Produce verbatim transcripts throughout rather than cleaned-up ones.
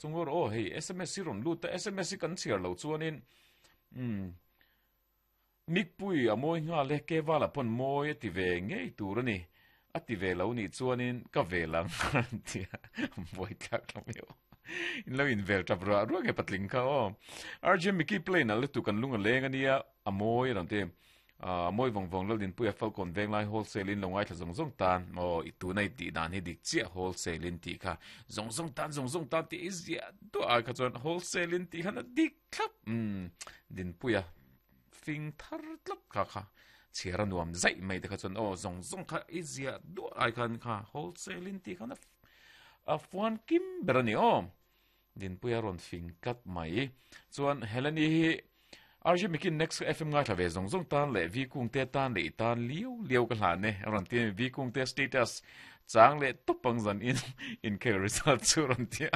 Chungor aw hei S M S hi rawn lut a, S M S hi kan chhiar lo chuanin um mikpui a mawi nghal e, kevala pawn mawi a ti ve ngei tur ani, a ti ve lo nih chuanin ka ve lang tia buai thlak lam yo in lo in vel tap ra ruang e patling kha aw. R J Mickey play na lutu kan lung a leng ania, a mawi ran te a mawi vawng vawng. Lal din puia Falcon Venglai wholesale in lo ngai thla zong zong tan o i tu nei ti dan hi dik chia, wholesale in ti kha zong zong tan, zong zong tan ti izia tu a kha chuan wholesale in ti kha na dik thlap um din puia fing thar tlap kha kha chhiara nuam zai mai te kha chuan o zong zong kha izia du ai khan kha wholesale in ti kha na a fuan kim berani o din puia ron fing kat mai. Chuan Heleni hi R J mikin Next F M ngai thave zong zong tan le vi kung te tan le tan liu liu ka hlan ne ron ti vi kung te status chang le topang zan in in ke result chu ron tia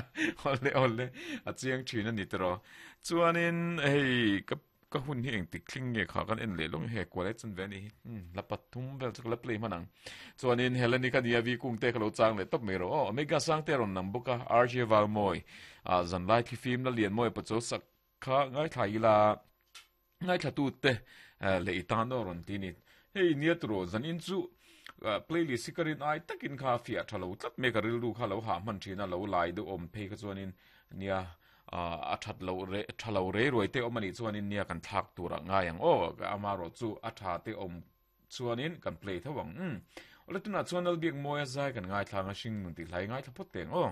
ole ole a chiang thina ni tro. Chuanin hei ka ka hun hi eng tik thling nge kha kan en le long he kwale chun ve ni la pathum vel chak la play manang. Chuanin Heleni ka nia, vi kung te khalo chang le top me ro omega sang te ron nam buka R J Valmoi a zan lai thi film la lian moi pacho sak kha ngai thai la ngai thla tu te le itan no ron ti ni. Hei nia tro, zan in chu playlist sikarin ai takin kha fia thalo tlat me ka ril ru kha lo ha man thina lo lai du om phe kha chuanin nia a that lo re thalo re roi te omani chuanin nia kan thak tura ngayang o ama ro chu a tha te om chuanin kan play thawang um ole tuna chuan al biak moya zai kan ngai thlanga hring nun ti hlai ngai thla phot teng o.